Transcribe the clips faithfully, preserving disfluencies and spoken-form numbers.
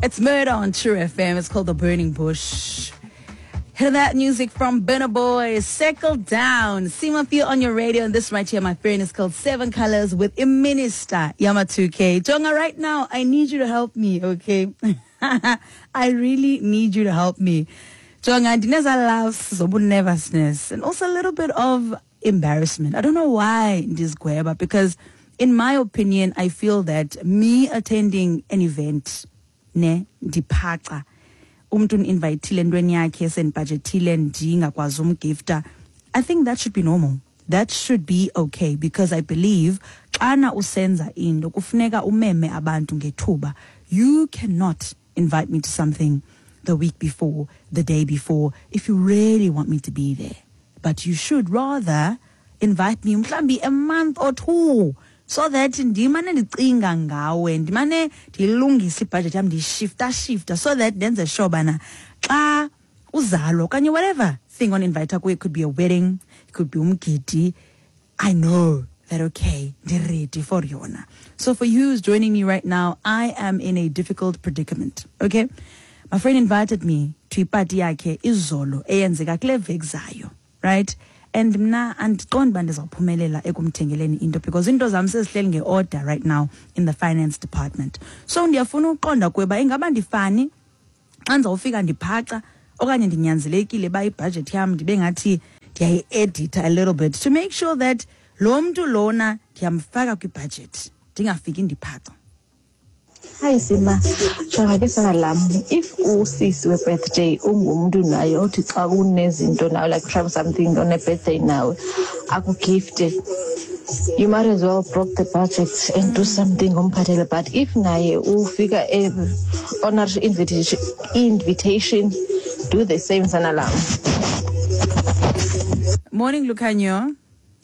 It's Murder on True F M. It's called The Burning Bush. Hear that music from Burna Boy. Settle down. Sima Feel on your radio. And this right here, my friend, is called Seven Colors with Minister Yama two K. Jonga, right now, I need you to help me, okay? I really need you to help me. Jonga, ndineza laughs, zobu nervousness, and also a little bit of embarrassment. I don't know why ndizigweba, because in my opinion, I feel that me attending an event, ne, ndiphaca, umntu uninvitile entweni yakhe sendibhajethile ndingakwazi umgifta, I think that should be normal. That should be okay, because I believe xana usenza into kufuneka umeme abantu ngethuba. You cannot invite me to something the week before, the day before, if you really want me to be there. But you should rather invite me mhlambi a month or two, so that ndimane ndicinga ngawe, ndimane ndilungise ibudget yam, ndishifta shifta, so that ndenze sure bana xa uzalwa okanye whatever thing on invite kuyo, it could be a wedding, it could be umgidi, I know that okay, ndi ready for yona. So for you who's joining me right now, I am in a difficult predicament, okay? My friend invited me to ipati yakhe izolo eyenzeka kule veki zayo, right? And mna andiqondi uba ndizawuphumelela ekumthengeleni into, because into zam sezihleli nge-order right now in the finance department. So ndiyafuna uqonda kuye uba ingaba ndifani xa ndizawufika ndiphaca okanye ndinyanzelekile uba ibhajethi yam ndibe ngathi ndiyayi-editha a little bit to make sure that lo mntu lona ndiyamfaka kwibhajethi, ndingafiki ndiphaca. Hi Sima, jonga ke sana lam, if usisi we-birthday ungumntu naye othi xa kunezinto nawe, like try something on a birthday nawe akugifte, you might as well broke the budget and do something umphathele. But if naye ufika honor invitation, invitation, do the same sana lam. Morning, Lukanyo.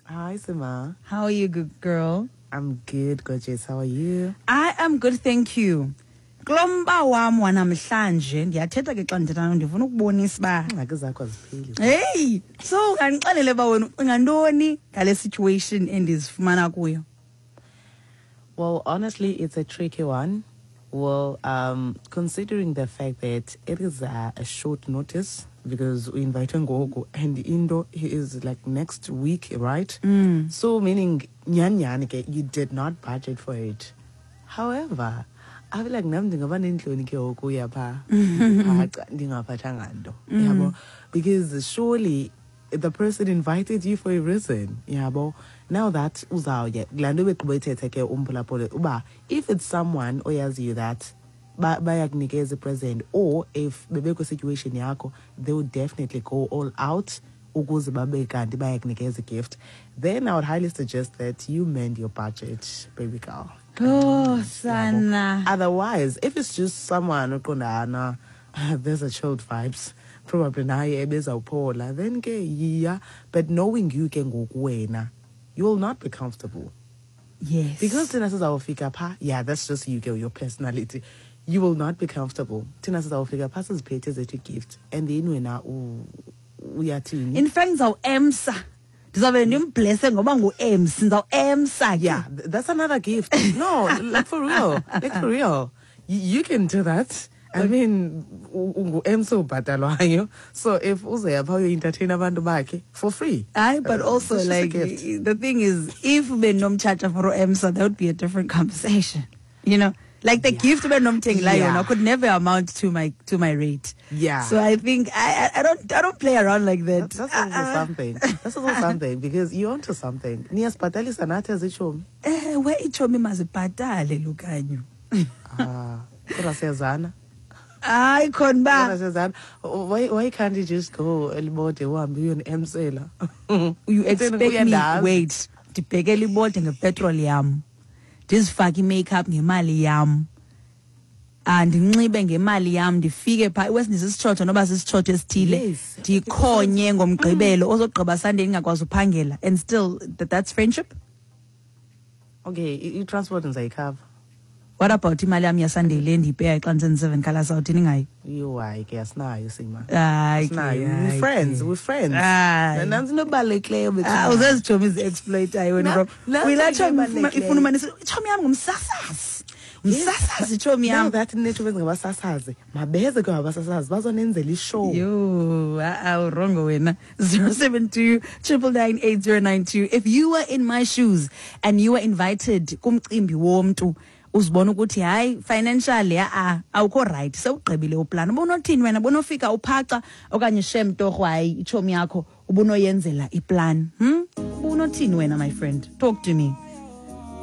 Hi Sima. How are you, good girl? I'm good, gorgeous. How are you? I am good, thank you. Kulomba wam wanamhlanje ndiyathetha ke xa ndithetha nawe, ndifuna ukubonisa uba Ingxaki zakho azipheli. Hey, so ungandixelele uba wena ucinga ntoni ngale situation endizifumana kuyo? Well, honestly, it's a tricky one. Well, um, considering the fact that it is a, a short notice, because we invite ngoku and into is like next week, right? Mm. So meaning nyan nyan ke, you did not budget for it. However, I feel like nam ndingaba nentloni ke ngoku uya pha, ndiphaca, ndingaphathanga nto, yabo? Because surely the person invited you for a reason, yabo? Now that uzawuye, laa nto begqiba uyithetha ke umphulaphuli, uba if it's someone oyaziyo that ba-, bayakunikeza present, or if bebekwi situation yakho, they would definitely go all out ukuze babe kanti bayakunikeza gift. Then I would highly suggest that you mend your budget, baby girl. Oh, sana. Otherwise, if it's just someone oqonda, there's a chilled vibes, probably naye ebezawuphola, then ke yeah. But knowing you ke ngoku wena, you will not be comfortable. Yes. Because thina sizawufika pha, yeah, that's just you, girl, your personality. You will not be comfortable. Thina sizawufika pha siziphethe zethu gift, and then wena u-, uyathini? In fact, ndizawuemsa. Ndizawube ndimblesse ngoba ngu-M C, ndizawuemsa ke. Yeah, th-, that's another gift. No, like for real. Like for real. Y-, you can do that. I mean, u-, ungu-M C ubhatalwayo. So if uze apha uyo-entertain abantu bakhe for free. Aye, but Uh, also, it's just a like, gift. the thing is, if benomtshatsha for U-M C, that would be a different conversation. You know? Like the Yeah. gift benomthengela Yeah. yona could never amount to my, to my rate. Yeah. So I think I, I, I don't, I don't play around like that. That's, that's also Uh-uh. something. That's also something, because you're onto something. Niyasibhatalisa nathi as itshomi. Eh, we itshomi mazibhatale, Lukanyo. Ah, kodwa siyazana. Hayi khona ba. Kodwa siyazana. Why, why can't you just go Elibode uhambe uyoni-emsela? You Utheni expect me, uyandazi? wait, ndibheke Elibode ngepetrol yam. Ndizifake i-makeup ngemali yam. Ah, ndinxibe ngemali yam, ndifike pha, iwesi ndisisitshotsho noba sisitshotsho esithile. Yes. Ndikhonye ngomgqibelo, ozogqiba Sunday ndingakwazi uphangela. And still, that, that's friendship? Okay, i-, i-transport ndizayikhava. What about imali yam yaSunday le ndiyipeya xa ndiseni-seven Colors awuthini ngayo? Yho, hayi ke, asinayo Sima. Hayi ke, Asinayo. We're hayi friends, ke. we're friends. Hayi. Nantsi into ebalulekileyo bethu. Ah, uzezitshomi ezi-exploitayo wena, Na- bro. nantsi Uyilaa into tshomi ifuna, ebalulekileyo. ifuna umane isithi, itshomi yam ngumsasazi. Msasazi, tshomi Now yam. that netshomi ezingabasasazi, mabeze ke abasasazi bazonenzela ishow. Yo, ah, wrongo wena. zero seven two triple nine eight zero nine two. If you were in my shoes and you were invited kumcimbi womntu, uzibona ukuthi hayi, financially a awukho right, sewugqibile uplan, ubunothini wena? Ubunofika uphaca okanye shem torho, hayi, itshomi yakho ubunoyenzela iplan? hmm ubunothini wena, my friend? Talk to me.